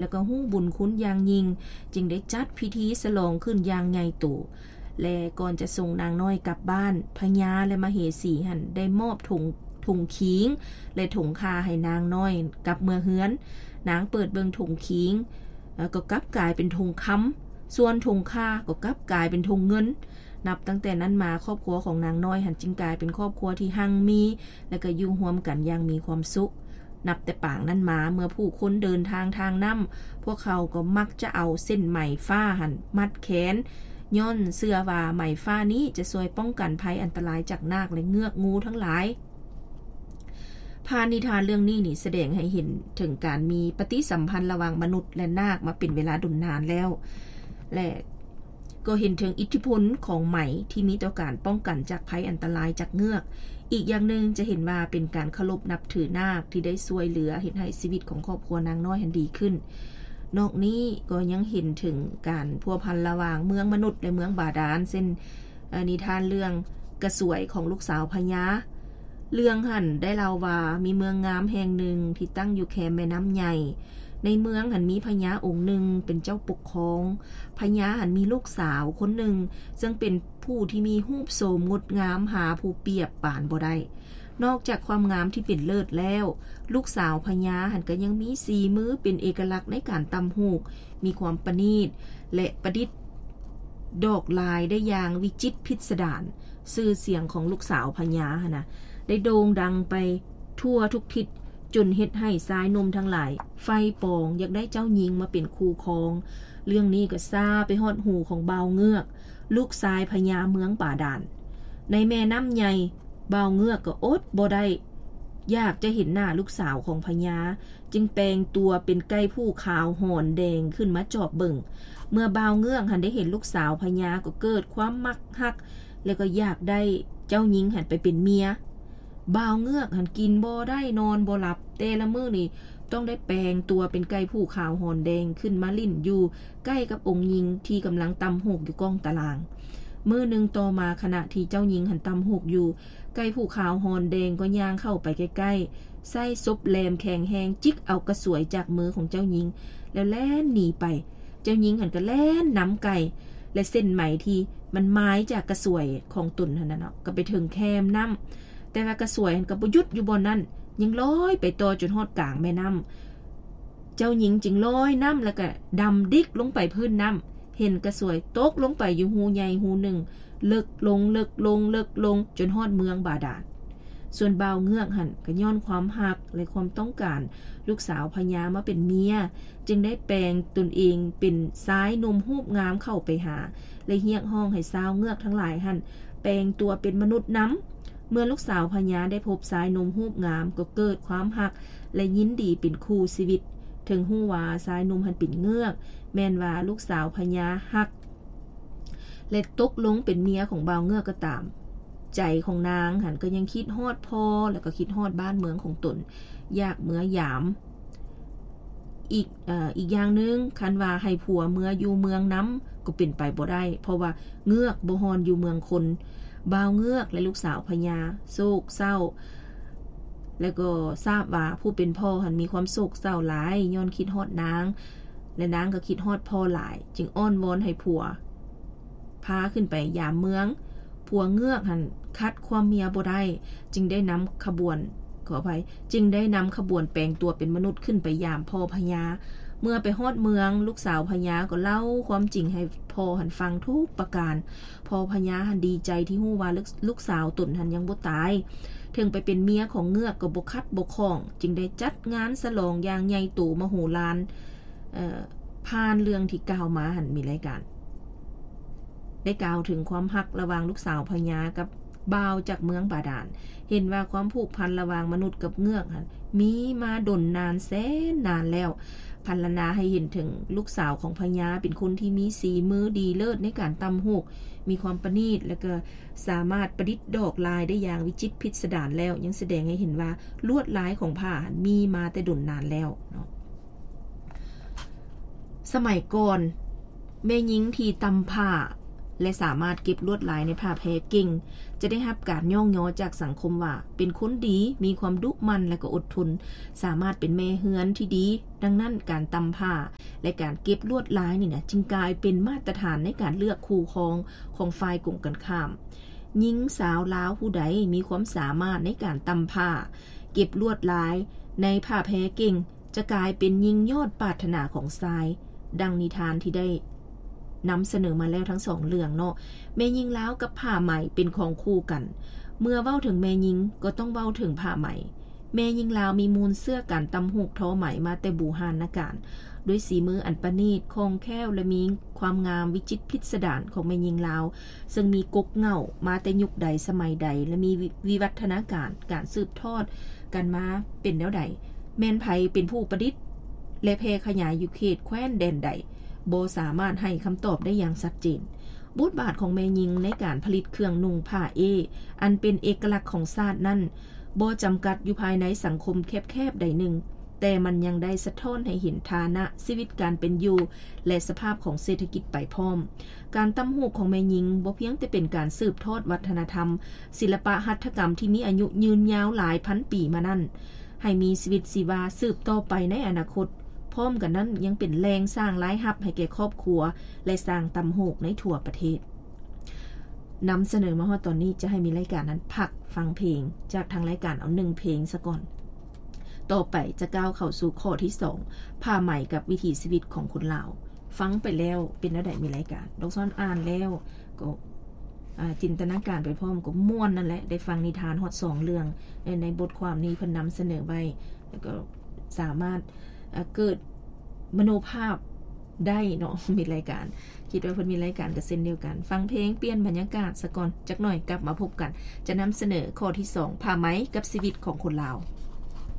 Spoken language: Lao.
ແລະກໍຮູ້ບຸນຄຸນຢ່າງຍິ່ງ, ຈຶ່ງໄດ້ຈັດພິທີສະຫຼອງຂຶ້ນຢ່າງໃຫຍ່ໂຕ. ແລະກ່ອນຈະສົ່ງນາງນ້ອຍກັບບ້ານ, ພະຍາ ແລະມະເຫສີຫັ້ນໄດ້ມອບຖົງ, ຖົງຄີງ ແລະຖົງຂ່າໃຫ້ນາງນ້ອຍກັບເມືອເຮືອນ. ນາງເປີດເບິ່ງຖົງຄີງ, ເອີ່, ກໍກັບກາຍເປັນຖົງຄຳ, ສ່ວນຖົງຂ່າກໍກັບກາຍເປັນຖົງເງິນ. ນັບຕັ້ງແຕ່ນັ້ນມາ, ຄອບຄົວຂອງນາງນ້ອຍຫັ້ນຈຶ່ງກາຍເປັນຄອບຄົວທີ່ຮັ່ງມີ ແລະກໍຢູ່ຮ່ວມກັນຢ່າງມີຄວາມສຸກ. ນັບແຕ່ປາງນັ້ນມາ, ເມື່ອຜູ້ຄົນເດີນທາງທາງນ້ຳ, ພວກເຂົາກໍມັກຈະເອົາເສັ້ນໄໝຟ້າຫັ້ນມັດແຂນ, ຍ້ອນເຊື່ອວ່າໄໝຟ້ານີ້ຈະຊ່ວຍປ້ອງກັນໄພອັນຕະລາຍຈາກນາກ ແລະເງືອກງູທັງຫຼາຍ. ຜ່ານນິທານເລື່ອງນີ້ນີ້ສະແດງໃຫ້ເຫັນເຖິງການມີປະຕິສຳພັນລະຫວ່າງມະນຸດ ແລະນາກມາເປັນເວລາດົນນານແລ້ວ ແລະ ກໍເຫັນເຖິງອິດທິພົນຂອງໄໝທີ່ມີຕໍ່ການປ້ອງກັນຈາກໄພອັນຕະລາຍຈາກເງືອກ. ອີກຢ່າງໜຶ່ງຈະເຫັນວ່າເປັນການເຄົາລົບນັບຖືນາກທີ່ໄດ້ຊ່ວຍເຫຼືອເຮັດໃຫ້ຊີວິດຂອງຄອບຄົວນາງນ້ອຍຫັ້ນດີຂຶ້ນ. ນອກນີ້ກໍຍັງເຫັນເຖິງການພົວພັນລະຫວ່າງເມືອງມະນຸດ ແລະ ເມືອງບາດານ, ເຊັ່ນ, ເອີ່, ນິທານເລື່ອງກະສວຍຂອງລູກສາວພະຍາ. ເລື່ອງຫັ້ນໄດ້ເລົ່າວ່າມີເມືອງງາມແຫ່ງໜຶ່ງທີ່ຕັ້ງຢູ່ແຄມແມ່ນ້ຳໃຫຍ່. ໃນເມືອງຫັ້ນມີພະຍາອົງໜຶ່ງເປັນເຈົ້າປົກຄອງ. ພະຍາຫັ້ນມີລູກສາວຄົນໜຶ່ງ ເຊິ່ງເປັນຜູ້ທີ່ມີຮູບໂສມງົດງາມຫາຜູ້ປຽບປານບໍ່ໄດ້. ນອກຈາກຄວາມງາມທີ່ເປັນເລີດແລ້ວ, ລູກສາວພະຍາຫັ້ນກໍຍັງມີສີມືເປັນເອກະລັກໃນການຕ່ຳຫູກ, ມີຄວາມປະນີດ ແລະ ປະດິດດອກລາຍໄດ້ຢ່າງວິຈິດພິດສະດານ. ຊື່ສຽງຂອງລູກສາວພະຍາຫັ້ນນະ ໄດ້ໂດ່ງດັງໄປທົ່ວທຸກທິດ, ຈົນເຮັດໃຫ້ຊາຍໜຸ່ມທັງຫຼາຍໃຝ່ປອງຢາກໄດ້ເຈົ້າຍິງມາເປັນຄູ່ຄອງ. ເລື່ອງນີ້ກໍຊາໄປຮອດຫູຂອງບ່າວເງືອກ, ລູກຊາຍພະຍາເມືອງບາດານ. ໃນແມ່ນ້ຳໃຫຍ່, ບ່າວເງືອກກໍອົດບໍ່ໄດ້ ຢາກຈະເຫັນໜ້າລູກສາວຂອງພະຍາ, ຈຶ່ງແປງຕົວເປັນໄກ່ຜູ້ຂາວຫອນແດງຂຶ້ນມາຈອບເບິ່ງ. ເມື່ອບ່າວເງືອກຫັ້ນໄດ້ເຫັນລູກສາວພະຍາ ກໍເກີດຄວາມມັກຮັກ ແລະ ກໍຢາກໄດ້ເຈົ້າຍິງຫັ້ນໄປເປັນເມຍ. ບ່າວເງືອກຫັ້ນກິນບໍ່ໄດ້ນອນບໍ່ຫຼັບ, ແຕ່ລະມື້ນີ້ຕ້ອງໄດ້ແປງຕົວເປັນໄກ່ຜູ້ຂາວຫອນແດງຂຶ້ນມາຫຼິ້ນຢູ່ໃກ້ກັບອົງຍິງທີ່ກຳລັງຕ່ຳຫູກຢູ່ກ້ອງຕາລາງ. ມື້ໜຶ່ງຕໍ່ມາ, ຂະນະທີ່ເຈົ້າຍິງຫັ້ນຕ່ຳຫູກຢູ່, ໄກ່ຜູ້ຂາວຫອນແດງກໍຍ່າງເຂົ້າໄປໃກ້ໆ, ໃຊ້ສົບແຫຼມແຂງແຮງຈິກເອົາກະສວຍຈາກມືຂອງເຈົ້າຍິງ ແລ້ວແລ່ນໜີໄປ. ເຈົ້າຍິງຫັ້ນກໍແລ່ນນຳໄກ່ ແລະ ເສັ້ນໄໝທີ່ມັນໝາຍຈາກກະສວຍຂອງຕົນຫັ້ນນະເນາະ ກໍໄປເຖິງແຄມນ້ຳ, ແຕ່ວ່າກະສວຍຫັ້ນກໍບໍ່ຢຸດຢູ່ບ່ອນນັ້ນ, ຍັງລອຍໄປຕໍ່ຈົນຮອດກາງແມ່ນ້ຳ. ເຈົ້າຍິງຈຶ່ງລອຍນ້ຳ ແລ້ວກໍດຳດິກລົງໄປພື້ນນ້ຳ, ເຫັນກະສວຍຕົກລົງໄປຢູ່ຮູໃຫຍ່ຮູໜຶ່ງ, ເລິກລົງ, ເລິກລົງ, ເລິກລົງ, ຈົນຮອດເມືອງບາດານ. ສ່ວນບ່າວເງືອກຫັ້ນ ກໍຍ້ອນຄວາມຮັກ ແລະ ຄວາມຕ້ອງການລູກສາວພະຍາມາເປັນເມຍ, ຈຶ່ງໄດ້ແປງຕົນເອງເປັນຊາຍໜຸ່ມຮູບງາມເຂົ້າໄປຫາ ແລະ ຮຽກຮ້ອງໃຫ້ຊາວເງືອກທັງຫຼາຍຫັ້ນແປງຕົວເປັນມະນຸດນຳ. ເມື່ອລູກສາວພະຍາໄດ້ພົບຊາຍໜຸ່ມຮູບງາມ ກໍເກີດຄວາມຮັກ ແລະ ຍິນດີເປັນຄູ່ຊີວິດ. ເຖິງຮູ້ວ່າຊາຍໜຸ່ມຫັ້ນເປັນເງືອກ, ແມ່ນວ່າລູກສາວພະຍາຮັກ ແລະ ຕົກລົງເປັນເມຍຂອງບ່າວເງືອກກໍຕາມ, ໃຈຂອງນາງຫັ້ນກໍຍັງຄິດຮອດພໍ່ ແລ້ວກໍຄິດຮອດບ້ານເມືອງຂອງຕົນ, ຢາກເມືອຢາມ. ອີກ, ເອີ່, ອີກຢ່າງໜຶ່ງ, ຄັນວ່າໃຫ້ຜົວເມືອຢູ່ເມືອງນຳກໍເປັນໄປບໍ່ໄດ້, ເພາະວ່າເງືອກບໍ່ຮອນຢູ່ເມືອງຄົນ. ບ່າວເງືອກ ແລະ ລູກສາວພະຍາໂສກເສົ້າ ແລ້ວກໍຊາບວ່າຜູ້ເປັນພໍ່ຫັ້ນມີຄວາມໂສກເສົ້າຫຼາຍ ຍ້ອນຄິດຮອດນາງ ແລະ ນາງກໍຄິດຮອດພໍ່ຫຼາຍ, ຈຶ່ງອ້ອນວອນໃຫ້ຜົວພາຂຶ້ນໄປຢາມເມືອງ. ຜົວເງືອກຫັ້ນຂັດຄວາມເມຍບໍ່ໄດ້, ຈຶ່ງໄດ້ນຳຂະບວນ, ຂໍອະໄພ, ຈຶ່ງໄດ້ນຳຂະບວນແປງຕົວເປັນມະນຸດຂຶ້ນໄປຢາມພໍ່ພະຍາ. ເມື່ອໄປຮອດເມືອງ, ລູກສາວພະຍາກໍເລົ່າຄວາມຈິງໃຫ້ພໍ່ຫັ້ນຟັງທຸກປະການ. ພໍ່ພະຍາຫັ້ນດີໃຈທີ່ຮູ້ວ່າລູກ, ລູກສາວຕົນຫັ້ນຍັງບໍ່ຕາຍ, ເຖິງໄປເປັນເມຍຂອງເງືອກກໍບໍ່ຂັດບໍ່ຂ້ອງ, ຈຶ່ງໄດ້ຈັດງານສະຫຼອງຢ່າງໃຫຍ່ໂຕມະໂຫລານ. ເອີ່, ຜ່ານເລື່ອງທີ່ກ່າວມາຫັ້ນ, ມີລາຍການໄດ້ກ່າວເຖິງຄວາມຮັກລະຫວ່າງລູກສາວພະຍາກັບບ່າວຈາກເມືອງບາດານ. ເຫັນວ່າຄວາມຜູກພັນລະຫວ່າງມະນຸດກັບເງືອກຫັ້ນ ມີມາດົນນານແສນນານແລ້ວ, ພັນລະນາໃຫ້ເຫັນເຖິງລູກສາວຂອງພະຍາເປັນຄົນທີ່ມີສີມືດີເລີດໃນການຕ່ຳຫູກ, ມີຄວາມປະນີດ ແລະ ກໍສາມາດປະດິດດອກລາຍໄດ້ຢ່າງວິຈິດພິດສະດານແລ້ວ, ຍັງສະແດງໃຫ້ເຫັນວ່າລວດລາຍຂອງຜ້າຫັ້ນມີມາແຕ່ດົນນານແລ້ວເນາະ. ສະໄໝກ່ອນ, ແມ່ຍິງທີ່ຕ່ຳຜ້າ ແລະ ສາມາດເກັບລວດລາຍໃນຜ້າແພເກັ່ງ, ຈະໄດ້ຮັບການຍ້ອງຍໍຈາກສັງຄົມວ່າເປັນຄົນດີ, ມີຄວາມດຸໝັ່ນ ແລະ ກໍອົດທົນ, ສາມາດເປັນແມ່ເຮືອນທີ່ດີ. ດັ່ງນັ້ນ, ການຕ່ຳຜ້າ ແລະ ການເກັບລວດລາຍນີ້ນະ ຈຶ່ງກາຍເປັນມາດຕະຖານໃນການເລືອກຄູ່ຄອງຂອງຝ່າຍກົງກັນຂ້າມ. ຍິງສາວລາວຜູ້ໃດມີຄວາມສາມາດໃນການຕ່ຳຜ້າ, ເກັບລວດລາຍໃນຜ້າແພເກັ່ງ, ຈະກາຍເປັນຍິງຍອດປາດຖະໜາຂອງຊາຍ, ດັ່ງນິທານທີ່ໄດ້ນຳສະເໜີມາແລ້ວທັງສອງເລື່ອງເນາະ. ແມ່ຍິງລາວກັບຜ້າໄໝເປັນຂອງຄູ່ກັນ. ເມື່ອເວົ້າເຖິງແມ່ຍິງກໍຕ້ອງເວົ້າເຖິງຜ້າໄໝ. ແມ່ຍິງລາວມີມູນເຊື້ອການຕ່ຳຫູກທໍໄໝມາແຕ່ບູຮານນະການ, ດ້ວຍສີມືອັນປະນີດ, ຄ່ອງແຄ້ວ ແລະ ມີຄວາມງາມວິຈິດພິດສະດານຂອງແມ່ຍິງລາວ, ເຊິ່ງມີກົກເຫງົ້າມາແຕ່ຍຸກໃດສະໄໝໃດ ແລະ ມີວິ ວິວັດທະນາການ ການສືບທອດກັນມາເປັນແນວໃດ, ແມ່ນໃຜເປັນຜູ້ປະດິດ ແລະ ແຜ່ຂະຫຍາຍຢູ່ເຂດແຄວ້ນແດນໃດ, ບໍ່ສາມາດໃຫ້ຄຳຕອບໄດ້ຢ່າງຊັດເຈນ. ບົດບາດຂອງແມ່ຍິງໃນການຜະລິດເຄື່ອງນຸ່ງຜ້າເອ ອັນເປັນເອກະລັກຂອງຊາດນັ້ນ ບໍ່ຈຳກັດຢູ່ພາຍໃນສັງຄົມແຄບໆໃດໜຶ່ງ, ແຕ່ມັນຍັງໄດ້ສະທ້ອນໃຫ້ເຫັນຖານະຊີວິດການເປັນຢູ່ ແລະ ສະພາບຂອງເສດຖະກິດໄປພ້ອມ. ການຕ່ຳຫູກຂອງແມ່ຍິງບໍ່ພຽງແຕ່ເປັນການສືບທອດວັດທະນະທຳ, ສິລະປະຫັດຖະກຳທີ່ມີອາຍຸຍືນຍາວຫຼາຍພັນປີມານັ້ນ ໃຫ້ມີຊີວິດຊີວາສືບຕໍ່ໄປໃນອະນາຄົດ, ພ້ອມກັນນັ້ນຍັງເປັນແຫຼ່ງສ້າງລາຍຮັບໃຫ້ແກ່ຄອບຄົວ ແລະ ສ້າງຕ່ຳຫູກໃນທົ່ວປະເທດ. ນຳສະເໜີມາຮອດຕອນນີ້ ຈະໃຫ້ມີລາຍການນັ້ນພັກຟັງເພງ ຈາກທາງລາຍການເອົາໜຶ່ງເພງສາກ່ອນ. ຕໍ່ໄປຈະກ້າວເຂົ້າສູ່ຂໍ້ທີສອງ ຜ້າໄໝກັບວິຖີຊີວິດຂອງຄົນລາວ. ຟັງໄປແລ້ວເປັນແນວໃດ ມີລາຍການ? ດອກຊອນອ່ານແລ້ວກໍ ອາ ຈິນຕະນາການໄປພ້ອມ ກໍມ່ວນນັ້ນແຫຼະ, ໄດ້ຟັງນິທານຮອດສອງເລື່ອງ ໃນ ໃນບົດຄວາມນີ້ເພິ່ນນຳສະເໜີໄວ້ ແລ້ວກໍສາມາດ ອາ ເກີດມະໂນພາບໄດ້ເນາະ ມີລາຍການ. ຄິດວ່າເພິ່ນມີລາຍການກໍເຊັ່ນດຽວກັນ. ຟັງເພງປ່ຽນບັນຍາກາດສາກ່ອນຈັກໜ້ອຍ, ກັບມາພົບກັນ ຈະນຳສະເໜີຂໍ້ທີສອງ ຜ້າໄໝກັບຊີວິດຂອງຄົນລາວ.